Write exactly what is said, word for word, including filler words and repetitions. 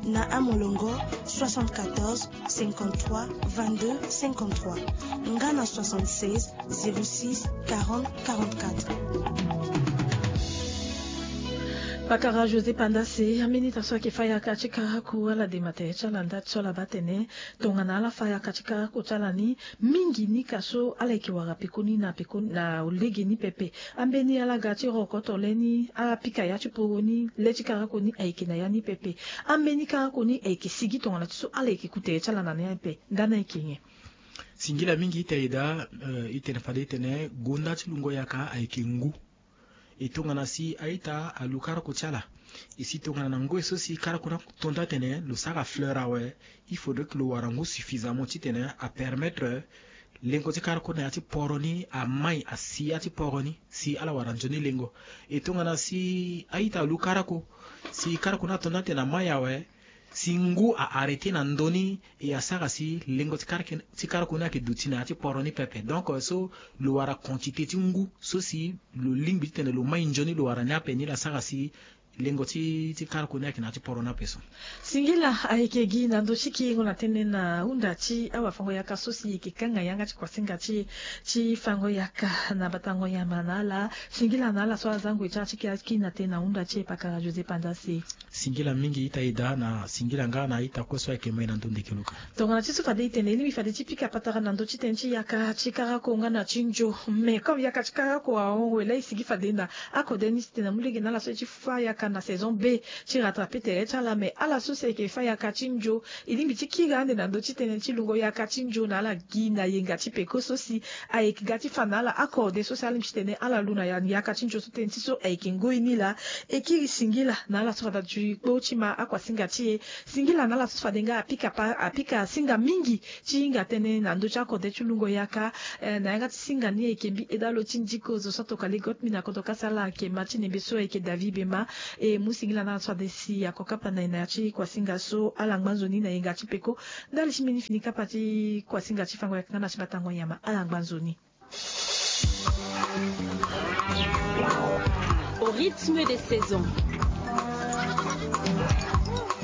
Na amolongo, soixante-quatorze, cinquante-trois, vingt-deux, cinquante-trois, nga na soixante-seize, zéro six, quarante, quarante-quatre. Pakara José Pandase, ambeni ta so ayeke fa yaka ti karaku ala de ma tere ti ala nda ti so ala baa tene tongana ala fa yaka ti karaku ti ala ni, mingi ni ka so ala yeke wara pekoni na pekoni na lege ni pepe. Ambeni ala ga ti rokoto le ni, ala pika ya ti poro ni, le ti karaku ni ayeke na ya ni pepe. Ambeni karaku ni ayeke sigi tongana ti so ala yeke ku tere ti ala na ni ape. Nda ni ayeke nyen? Singila mingi ita eda, eh, itene fade itene gonda ti lungo yaka ayeke ngu. E tongana si a-ita alu karaku ti ala, e si tongana na ngoi so si karaku ni ato nda atene lo sara fleur awe, il faudrait que lo wara ngu suffisamment titene apermettre lengo ti karaku na ya ti poro ni amai asi ya ti poro ni si ala wara nzoni lengo. E tongana si a-ita alu karaku, si karaku ni ato nda atene amai awe, si ngu a arrêter na ndö ni, e asara si lengo ti karaku, ti karaku ni ayeke duti na ya ti poro ni pepe. Donc, euh, so lo wara quantité ti ngu so si lo lingbi titene lo mai nzoni lo wara ni ape ni la sara si lengo ti, ti karaku ni ayeke na ya ti poro ni ape so. Singila ayeke gi na ndö ti kiringo na tënë na hunda ti awafango-yaka so si e yeke kanga yanga ti kuasinga ti, ti fango-yaka na batango nyama na ala. Singila na ala so aza ngoi ti ala ti kiri na tënë na hunda ti e pakara José Pandase. Singila mingi ita eda na singila nga na ita kue so ayeke moi na ndö ndeke luka. Tongana ti so fade e tene e lingbi fade ti pika patara na ndö ti tënë ti yaka ti karako nga na ti nzo. Mais comme yaka ti karako ahon wela e sigi fade na akode ni titene amu lege na ala so e ti fa yaka na saison B ti rattraper tere ti ala. Mais ala so si ayeke fa yaka ti nzo, e lingbi ti kiri ande na ndö ti tënë ti lungo yaka ti nzo na ala gi na yenga ti peko so si ayeke ga ti fa na ala akode so si alingbi titene ala lu na ya, yaka ti nzo so tënë ti so ayeke ngoi ni laa. E kiri singila na ala so fade ati kpo ti ma akuasinga ti e. Singila na ala so fade nga apika pa, apika singa mingi ti hinga tënë na ndö ti akode ti lungo yaka. Eh, na yanga ti singa ni ayeke mbi eda lo ti ndiko zo so atokua legot mbi na kodro kasa ala ayeke ma ti nembe so ayeke David Bema. E mu singila na ala so fade si ako kapa na e na ya ti kuasinga so ala ngba nzoni na yenga ti peko. Ndali ti mbeni fini kapa ti kuasinga ti fango yaka nga na ti batango nyama, ala ngba nzoni. Au rythme des saisons.